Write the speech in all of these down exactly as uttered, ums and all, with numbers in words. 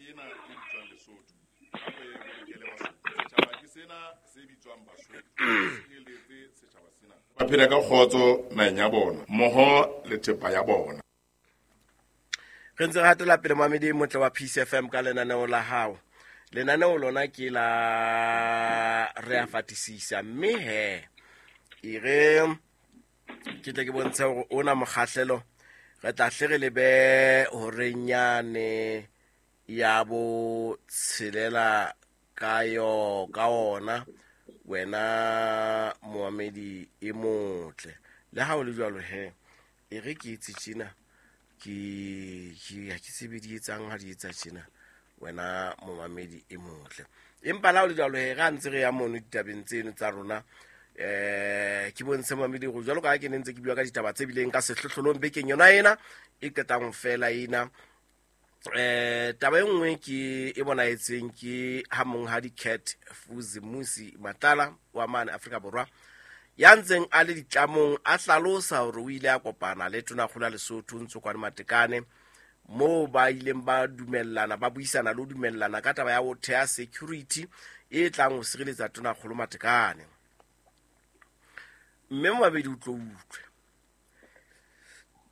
ena e bitswang Lesotho. Hape e bolokele Basotho. Setjhaba ke sena se bitswang Basotho. Sireletse setjhaba sena. Ba phela ka kgotso naheng ya bona, mmoho le thepa ya bona. Re ntse re hatela pele mamedi motle wa Peace F M ka lenaneo la hao. Lenaneo lona ke la re a fatisisa, mme he e re ke tle ke bontshe hore ona mokgahlelo re tla hle re lebe horenyane ya bo tshelela ka yo ka ona wena moamedi e motle. Le ha o le jwalo he e re ke itse tjena ke ke ha ke tsebe di etsang ha di etsa tjena wena momamedi e motle. Empa la o le jwalo he ra ntse re ya mono ditabeng tseno tsa rona, eh ke bontshe momamedi go jwalo ka ha ke ne ntse ke bua ka ditaba tse bileng ka sehlohlolong bekeng yona ena e qetang fela ena. Eh taba e nngwe ke e bonaetseng ke ha monghadi Cat Fuzimusi Matlala wa mane Afrika Borwa ya ntseng a le ditlamong a hlalosa hore o ile a kopana le Tonakgolo ya Lesotho Ntsokoane Matekane moo ba ileng ba dumellana ba buisana le ho dumellana ka taba ya ho theha security e tlang ho sireletsa Tonakgolo Matekane. Mme mabedi o tlo utlwe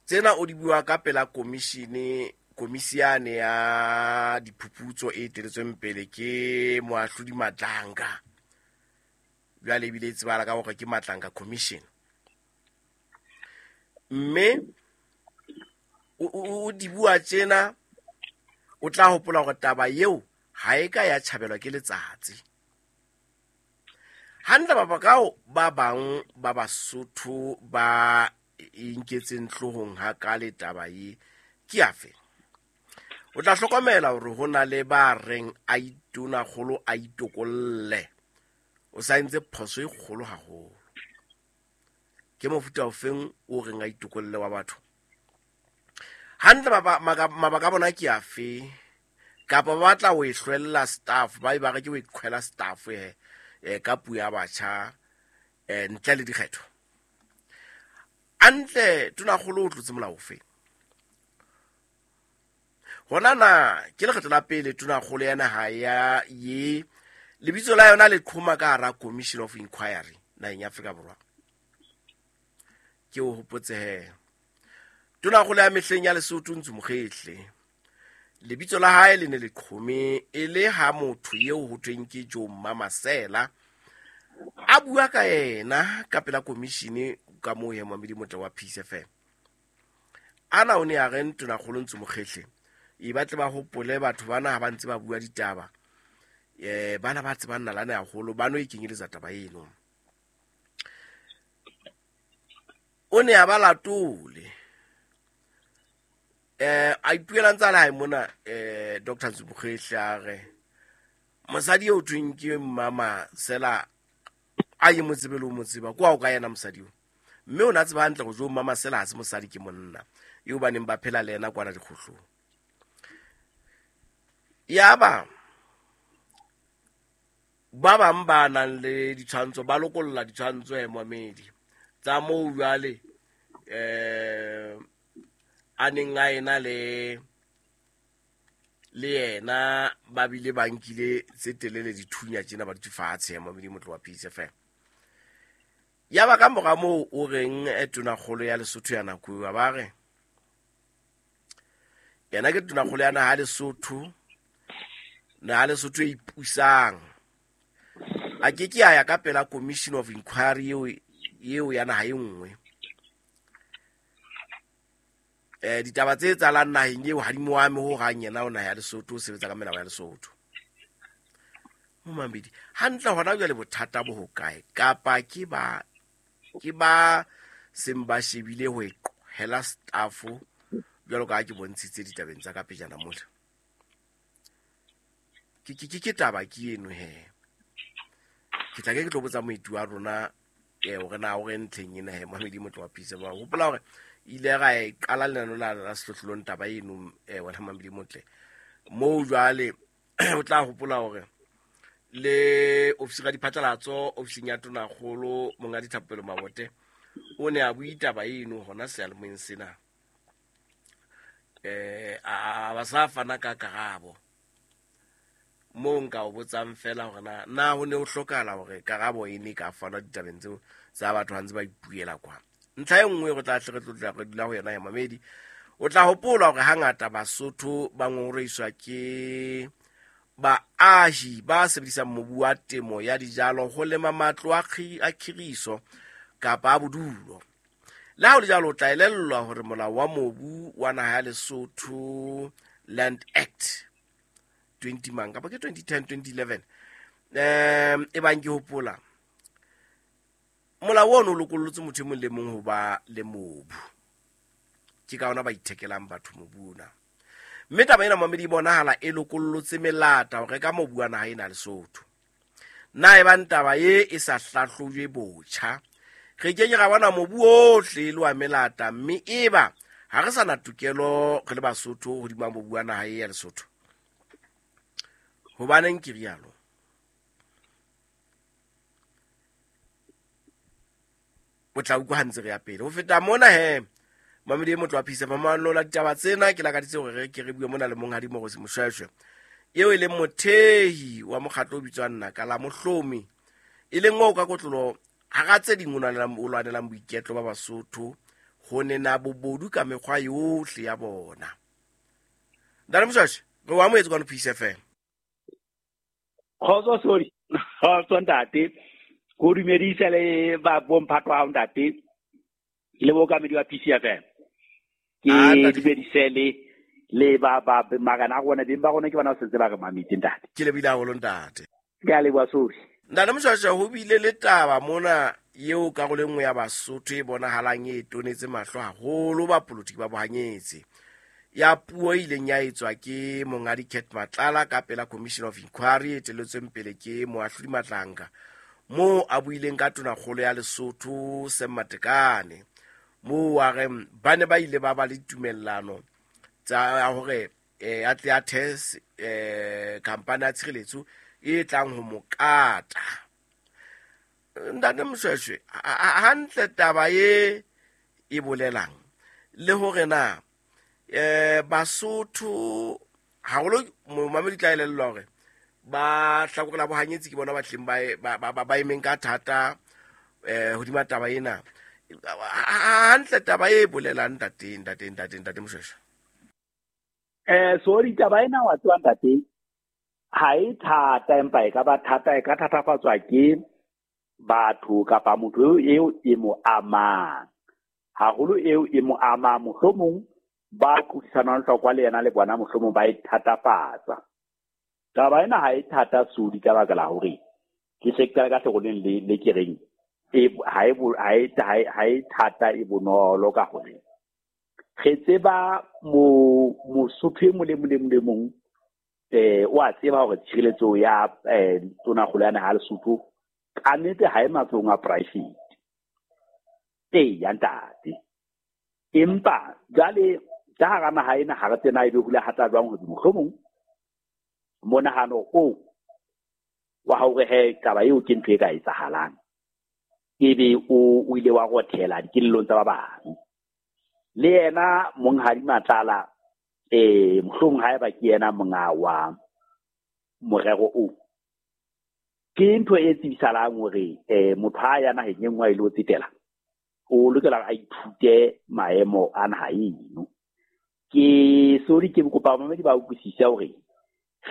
tsena o di bua ka pela komishine komisiane ya diphuputso e eteletsweng pele ke moahlodi Matlanga, jwale ebile e tsebala ka hore ke Matlanga Commission. Mme o di bua tjena o tla hopola hore taba eo ha e ka ya tjhabelwa ke letsatsi. Hantle mabaka ba bang ba Basotho ba inketseng hloohong hakale taba e ke afe? O tla hlokomela hore ho na le ba reng a itonakgolo a itokolle. O sa entse phoso e kgolo haholo. Ke mofuta ofeng o reng a itokolle wa batho? Hantle mabaka a bona ke afe? Kapa ba batla ho e hlwella staff, ba e ba re ke ho iqhwela staff he ka puo ya batjha ntle le dikgetho. Hantle Tonakgolo o tlotse molao ofe? Hona na ke lekgetlo la pele Tonakgolo ya naha ya ye lebitso la yona le qhoma ka hara Commission of Inquiry naheng ya Afrika Borwa. Ke o hopotse he Tonakgolo ya mehleng ya Lesotho Ntsu Mokgehle lebitso la hae le ne le qhome e le ha motho eo ho thweng ke Joe Mamasela a bua ka yena ka pela commission ka moo he Mamedi Motle wa Peace F M. Ana o ne a re Tonakgolo Ntsu Mokgehle e batle ba hopole batho bana ha ba ntse ba bua ditaba eh bana ba tsebang nalane haholo ba no ikenyeletsa taba eno. O ne a ba latole eh a ipuela ntsa le hae mona eh Doctor Ntsu Mokgehle a re mosadi eo thweng ke Mama Sela a ye motsebe le o motseba kwa o ka yena mosadi o, mme o na tseba hantle go jo Mama Sela ha se mosadi ke monna eo ba neng ba phela le yena kwana dikgohlong. Yaba ba bang ba nang le ditshwantsho ba lokolla ditshwantsho he momedi tsa moo jwale eh a neng a ena le le yena ba bile ba nkile tse telele dithunya tjena ba di fatshe he momedi motlo wa Peace F M. Yaba ka mora moo o reng Tonakgolo ya Lesotho ya nako eo ba re yena ke Tonakgolo ya naha Lesotho naha Lesotho e ipusang a ke ke a ya ka pela Commission of Inquiry eo eo ya naha e nngwe. Eh ditaba tse etsahalang naheng eo ha di mo ame ho hang, yena o naha ya Lesotho o sebetsa ka melao ya Lesotho. Momamedi hantle hona jwale bothata bo hokae? Kapa ke ba ke ba seng ba shebile ho hela staff jwalo ka ha ke bontshitse ditabeng tsa ka pejana mola. Ke ke ke taba ke eno he. Ke tla ke ke tlo botsa moeti wa rona eh hore na o re ntlheng ena he Mamedi Motle wa Peace. Ba hopola hore ile ra e qala lenano la la sehlohlolong taba eno eh wena Mamedi Motle moo jwale o tla hopola hore le ofisi ya diphatlalatso ofising ya Tonakgolo Monghadi Thapelo Mabote o ne a bua taba eno hona seyalemoyeng sena eh a ba sa fana ka karabo. Moo nka o botsang fela hore na na ho ne ho hlokahala hore karabo e ne ka fanwa ditabeng tseo tsa batho ha ntse ba ipuela kwa. Ntlha e nngwe re tla hle re tlotla re dula ho yona ya mamedi. O tla hopola hore hangata Basotho ba ngongorehiswa ke baahi ba sebedisang mobu wa temo ya dijalo ho lema matlo a a khiriso kapa a bodulo. Le ha ho le jwalo, o tla elellwa hore molao wa mobu wa naha ya Lesotho Land Act twenty mang kapa ke twenty ten twenty eleven um e bang ke hopola molao ono o lokollotse motho e mong le mong ho ba le mobu. Ke ka ona ba ithekelang batho mobu ona. Mme taba ena mamedi e bonahala e lokollotse melata ho reka mobu wa naha ena Lesotho. Na e bang taba e e sa hlahlojwe botjha, re ke ke ra bona mobu ohle le wa melata, mme eba ha re sa na tokelo re le Basotho hodima mobu wa naha e ya Lesotho. Hobaneng ke rialo? O tla utlwa ha ntse re ya pele. Ho feta mona he, mamedi e motlo wa Phisa mamano la ditaba tsena ke lakaditse hore re ke re bue mona le monghadi Moorosi Moshoeshoe, eo e leng mothehi wa mokgatlo o bitswang Naka la Mohlomi, e leng oo ka kotlolo hara tse ding o lwanelang, o lwanelang boiketlo ba Basotho ho nena bobodu ka mekgwa yohle ya bona. Ntate Moshoeshoe, re o amohetse kwano Peace F M. Kgotso, sorry. Kgotso ntate. Ko dumedisa le ba bomphato wa hao ntate le bookamedi wa P C F M. Ke dumedise le le ba ba marena a rona, beng ba rona ke bona ba sentse ba re mametse ntate. Ke lebile haholo ntate. Ke a leboha, sorry. Ntate Moshoeshoe, ho bile le taba mona eo karolo e nngwe ya Basotho e bonahalang e tonetse mahlo haholo ba polotiki ba bohanyetsi, ya puo e ileng ya etswa ke monghadi Cat Matlala ka pela Commission of Inquiry e etelletsweng pele ke moahlodi Matlanka, moo a buileng ka tonakgolo ya Lesotho Sam Matekane, moo a reng ba ne ba ile ba ba le tumellano tsa hore eh a tle a test eh khampani ya tshireletso e tlang ho mo kata. Ntate Moshoeshoe, hantle taba e e bolelang le hore na eh Basotho haholo momamedi tla elellwa hore ba hlakore la bohanyetsi ke bona ba tleng ba ba ba emeng ka thata eh hodima taba ena. Hantle taba e bolelang ntate ntate ntate ntate Moshoeshoe? Eh sorry, taba ena wa tswa ntate ha e thata, empa e ka ba thata, e ka thatafatswa ke batho kapa motho eo e mo amang haholo, eo e mo amang mohlomong ba qothisanang hlokwa le yena le bona mohlomong ba e thatafatsa. Taba ena ha e thata sodi ka baka la hore ke sekela ka hlokoleng le le ke reng e ha e ha e ha e thata e bonolo ka hore re tseba mo Mosotho e mong le mong le mong le mong eh o a tseba hore tshireletso ya eh tonakgolo ya naha Lesotho ka nnete ha e matsohong a private. Ee ya ntate, empa jwale ka hara naha ena ha re tsena ebe hula hata jwang hore mohlomong monahano o wa hore he taba eo ke ntho e ka etsahalang ebe o o ile wa rothela dikelellong tsa ba bang. Le yena monghadi Matlala eh mohlomong haeba ke yena monga wa morero o, ke ntho e tsibisalang hore eh motho ha ya naheng e nngwe a ile ho tsetela o lokela a ithute maemo a naha eno. Ke sorry, ke kopa mamedi ba utlwisise hore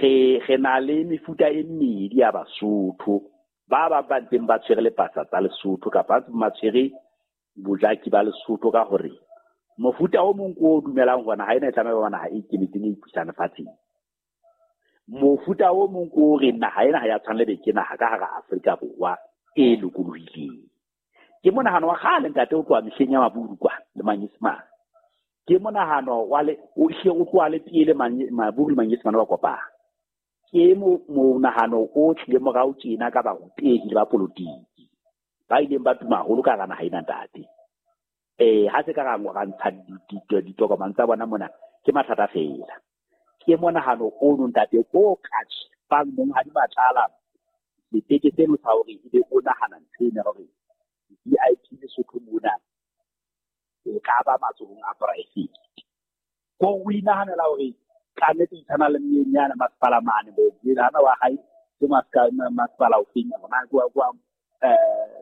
re re na le mefuta e mmedi ya Basotho ba ba ba ntseng ba tshwere lepasa tsa Lesotho kapa ba tshwere bojaki ba Lesotho, ka hore mofuta o mong o dumelang hore naha ena e tlameha ho ba naha e ikemetseng e ipusang lefatsheng. Mofuta o mong o re naha ena ha ya tshwanela be ke naha ka hara Afrika Borwa e lokolohileng. Ke monahano wa kgale ntate o tloha mehleng ya Maburu kwa le Manyesemane. Ke monahano wa le o hle o tloha le pele Maburu le Manyesemane ba kopana. Ke monahano o tlile morao tjena ka barutehi le ba polotiki ba ileng ba tuma haholo ka hara naha ena ntate. Eh ha se ka ra ra ntsha ditokomane tsa bona mona ke mathata fela. Ke monahano ono ntate o ka fang monghadi Matlala seteke seno sa hore ebe o nahana ntho ena hore V I P Lesotho mona e ka ba matsohong a private. Ko o inahanela hore Ka nnete tshwana le mmenyana masepala mane bo hana wa hae ke masepala o feng hona kwa kwa eh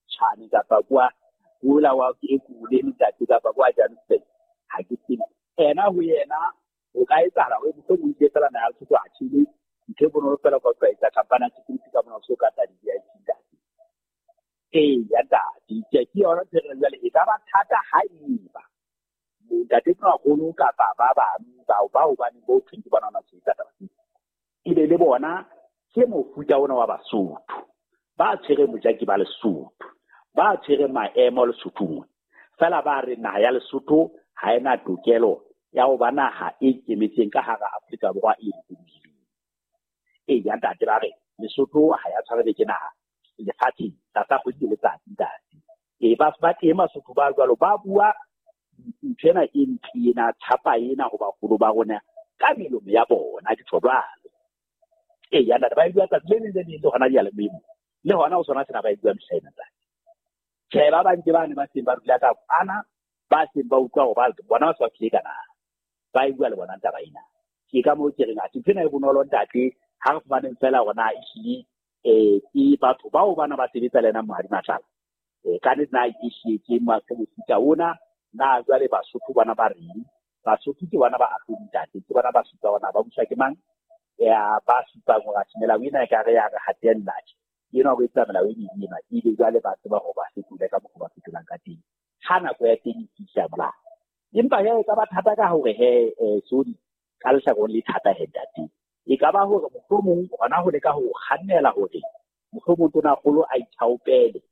Tshwane kapa kwa kula wa Ekurhuleni ntate kapa kwa Johannesburg ha ke tsebe. Ena ho yena o ka etsahala hore mohlomong ke fela na ya Lesotho a tjhele ntho e bonolo fela ka ho etsa khampani ya security ka mona so ka tsa di-V I P ntate. Ee ya ntate ke ke yona ntho e jwale e ka ba thata haeba ntate Tonakgolo kapa ba bang bao bao ba neng bo thweng ke bona ba tshwetsa taba tsena. Ebe le bona ke mofuta ona wa Basotho ba tshwere mojaki ba Lesotho, ba tshwere maemo Lesothong. Fela ba re naha ya Lesotho ha ena tokelo ya ho ba naha e ikemetseng ka hara Afrika Borwa e lokolohileng. Ee ya ntate ba re Lesotho ha ya tshwarele ke naha lefatsheng tlasa kgwedi le letsatsi ntate. Ee ba ba teng Basotho ba jwalo ba bua ntho ena e ntle ena tshapa ena ho baholo ba rona ka melomo ya bona ke tjho jwalo. Ee ya ntate ba e bua tsatsi le leng le leng le hona diyalemoyeng le hona ho sona sena ba e bua mehla ena ntate. Tjhe ba bang ke bane ba seng ba dula ka kwana ba seng ba utlwa hore ba bona ba se ba tlile kana ba e bua le bona taba ena. Ke ka moo ke reng athe ntho ena e bonolo ntate ha re fumaneng fela hore na ehlile eh ke batho bao bana ba sebetsa le yena Mohadi Matlala. Eh ka nnete na ehlile ke mofuta ona na jwale Basotho bana ba reng? Basotho ke bona ba ahlodi ntate, ke bona ba supa hore na ba buswa ke mang? Ya ba supang hore atjhe melao ena ekare ya re hatella tje. Ena o etsa melao e meng ena ebe jwale ba tseba hore ba fetole ka mokgwa ba fetolang ka teng. Ha nako ya teng e fihla molao. Empa he e ka ba thata ka hore he eh sorry ka lehlakoreng le thata he ntate. E ka ba hore mohlomong hona ho leka ho kgannela hore mohlomong Tonakgolo a ithaopele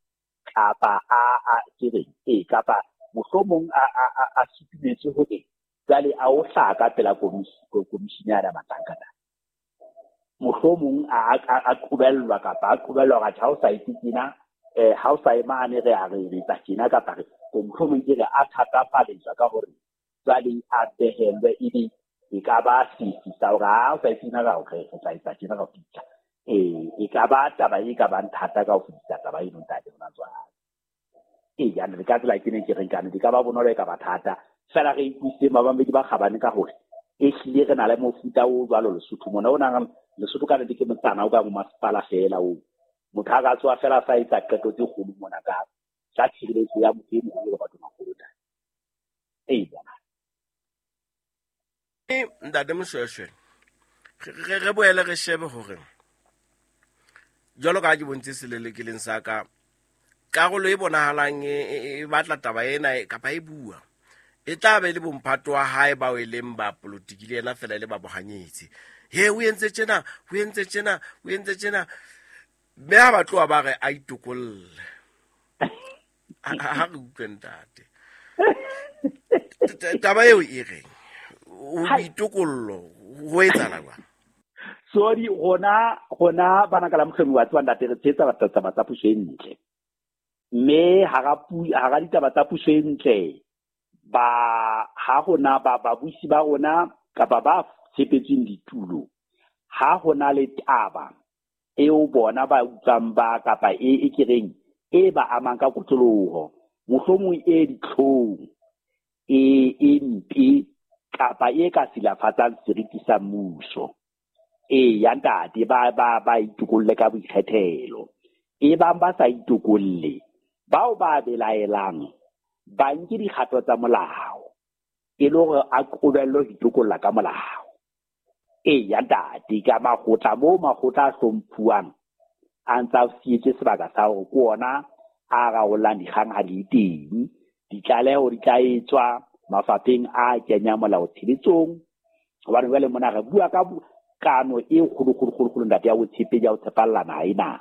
kapa a a ke reng ee kapa mohlomong a a a a sutumetse hore jwale a o hlaka pela komishini ya matlankana. Mohlomong a a a qobellwa kapa a qobellwa hore ha o sa etse tjena eh ha o sa e mane re a re re etsa tjena kapa re mohlomong ke re a thatafaletswa ka hore jwale a behellwe ebe e ka ba sefi sa hore ha o sa etse tjena ka hore re tla etsa tjena ka ho fihla. Eh e ka ba taba e ka bang thata ka ho fetisa taba eno ntate hona jwale. Ee ya re ka tsela ke ne ke reng kana di ka ba bonolo e ka ba thata fela re ikutlwisise babamedi ba kgabane ka hore ehlile re na le mofuta o jwalo Lesotho mona o nang Lesotho ka nnete ke motsana o ka mo masepala fela o motho a ka tswa fela sa etsa qeto tse kgolo mona ka ka tshireletso ya motho e moholo ba Tonakgolo. Ee ntate Moshoeshoe re re boele re shebe hore jwalo ka ha ke bontse selelekeleng sa ka karolo e bonahalang e batla taba ena kapa e bua e tla be le bomphato wa hae bao e leng ba politiki le yena fela e le ba bohanyetsi. He o entse tjena, o entse tjena, o entse tjena. Mme ha ba tloha ba re a itokolle. Ha re utlwe ntate. Taba eo e reng? O boitokollo ho etsahala jwang? Sorry, rona rona bana ka la Mohlomi wa tseba ntate re tshehetsa taba tsa puso e ntle. Mme hara hara ditaba tsa puso e ntle ba ha rona ba babusi ba rona kapa ba tshepetsweng ditulo ha hona le taba eo bona ba utlwang ba kapa e e kereng e ba amang ka kotloloho mohlomong e ditlhong e e mpe kapa e ka silafatsang seriti sa mmuso. Ee ya ntate ba ba ba itokolle ka boikgethelo. E bang ba sa itokolle bao ba belaelang ba nke dikgato tsa molao e le hore a qobellwe ho itokolla ka molao. Ee ya ntate ka makgotla moo makgotla a hlomphuwang a ntsa sietse sebaka sa hore ke ona a raolang dikgang ha di teng. Ditlaleho di tla etswa mafapheng a kenyang molao tshebetsong hobane jwale mona re bua ka kano e kgolo kgolo kgolo kgolo ntate ya botshepehi ya ho tshepalla naha ena.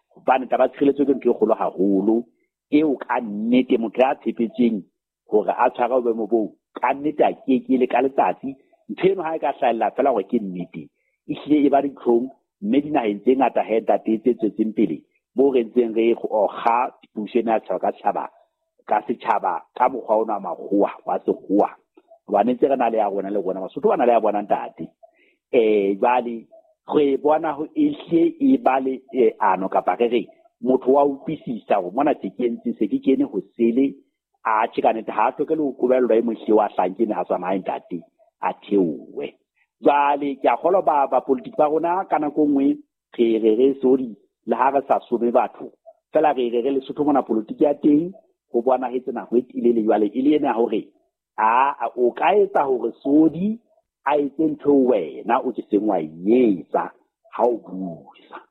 Hobane taba ya tshireletso ke ntho e kgolo haholo eo ka nnete motho ya tshepetsweng hore a tshware boemo boo ka nnete a keke le ka letsatsi ntho eno ha e ka hlahella fela hore ke nnete ehlile e ba ditlhong mme dinaheng tse ngata he ntate tse tswetseng pele moo re ntseng re okga puso ena ya setjhaba ka setjhaba ka setjhaba ka mokgwa ona wa makgowa wa sekgowa hobane ntse re na le ya rona le rona Basotho ba na le ya bona ntate. Eh jwale re bona ho ehle e ba le ano kapa re re motho wa utlwisisa hore mona se ke entse se ke kene ho sele a tjhe ka nnete ha hloke le ho qobellwa e mohle wa hlankene ha tswa naha ntate a theowe. Jwale ke a kgolwa ba ba politiki ba rona ka nako nngwe re re re sorry le ha re sa some batho fela re re re Lesotho mona politiki ya teng ho bonahetse nako e telele jwale e le ena hore a o ka etsa hore sodi a etse ntho wena o ke seng wa etsa ha o busa.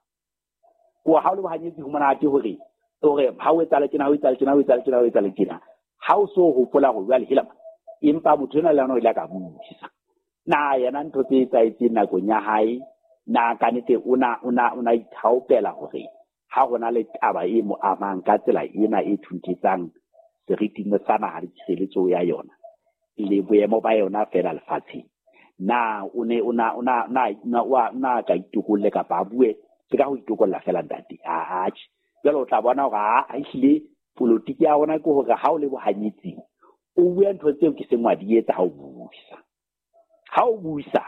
Ko ha o le bohanyetsi ho monate hore hore ha o etsa le tjena, ha o etsa le tjena, ha o etsa le tjena, ha o etsa le tjena. Ha o so hopola hore jwale hela empa motho ena le yena o ile a ka busa. Na yena ntho tse etsahetseng nakong ya hae na ka nnete o na o na o na ithaopela hore ha hona le taba e mo amang ka tsela ena e thunthetsang seriting sa naha le tshireletso ya yona le boemo ba yona fela lefatsheng. Na o ne o na o na na na wa na ka itokolle kapa a bue se ka ho itokolla fela ntate a atjhe. Jwale o tla bona hore a ehlile politiki ya rona ke hore ha o le bohanyetsing o bue ntho tseo ke seng wa di etsa ha o busa. Ha o busa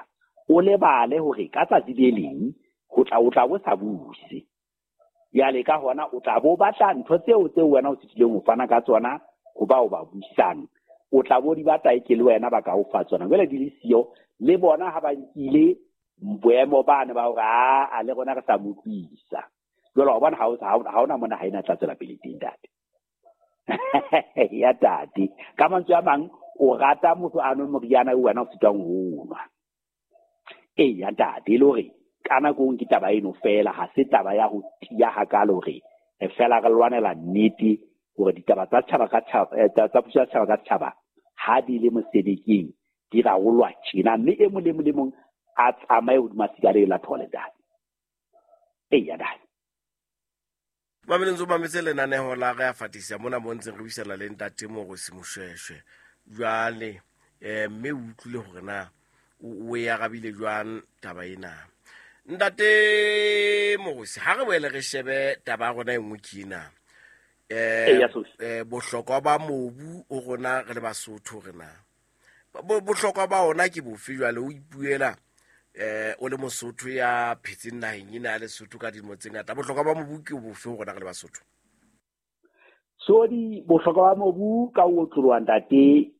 o lebale hore ka tsatsi le leng ho tla o tla bo sa buse. Jwale ka hona o tla bo batla ntho tseo tseo wena o sitileng ho fana ka tsona ho bao ba busang. O tla bo di batla e ke le wena ba ka o fa tsona. Jwale di le siyo le bona ha ba nkile boemo bane ba hore a le rona re sa mo utlwisa. Jwale wa bona ha o ha ona mona ha ena tla tswela pele teng ntate. Ya tate. Ka mantswe a mang o rata motho a nwe moriana wena o sitwang ho nwa. Ee ya ntate, le hore ka nako ke taba eno fela ha se taba ya ho tiya hakalo hore re fela re lwanela nnete hore ditaba tsa setjhaba ka tjhaba tsa puso ya setjhaba ka setjhaba ha di le mosebetsing di rarolwa tjena mme e mong le mong le mong a tsamaye hodima sigare la thole ntate. Ee ya ntate. Mameleng tso mametse lenaneho la re a fatisa mona mo ntseng re buisana le ntate Moorosi Moshoeshoe. Jwale eh mme o utlwile hore na o e arabile jwang taba ena. Ntate Moorosi, ha re boele re shebe taba ya rona e nngwe ke ena. Eh eh bohlokwa ba mobu o rona re le Basotho re na. Bohlokwa ba ona ke bofe jwale o ipuela eh o le Mosotho ya phetseng naheng ena ya Lesotho ka dilemo tse ngata. Bohlokwa ba mobu ke bofe ho rona re le Basotho? So di bohlokwa ba mobu ka o otloloha ntate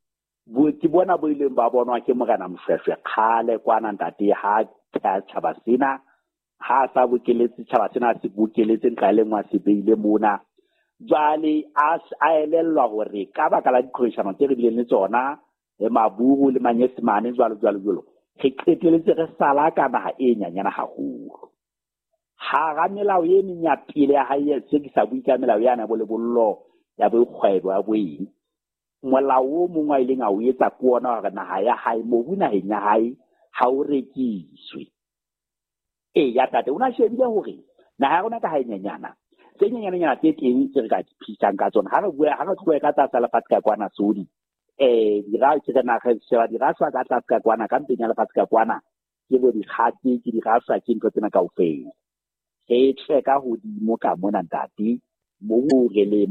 bo ke bona bo ileng ba bonwa ke Morena Moshoeshoe kgale kwana ntate ha tjhaba sena ha sa bokeletse tjhaba sena se bokeletse nqa le nngwe se beile mona. Jwale a a elellwa hore ka baka la diqhwebeshano tse re bileng le tsona le Maburu le Manyesemane jwalo jwalo jwalo re qeteletse re sala ka naha e nyanyana haholo. Hara melao e meng ya pele ya hae se ke sa bue ka melao yana bo lebollo ya bo kgwebo ya bo eng. Molao o mong a ileng a o etsa ke ona hore naha ya hae mobu naheng ya hae ha o rekiswe. Ee ya tate o na shebile hore naha ya rona ka ha e nyenyana tse nyenyananyana tse teng tse re ka di phisang ka tsona ha re bua ha re tlohe ka tlasa lefatshe ka kwana sodi eh dira ke re naha sheba diraswa ka tlase ka kwana ka mpeng ya lefatshe ka kwana ke bo dikgati ke diraswa ke ntho tsena kaofela. Re tle ka hodimo ka mona ntate moo re le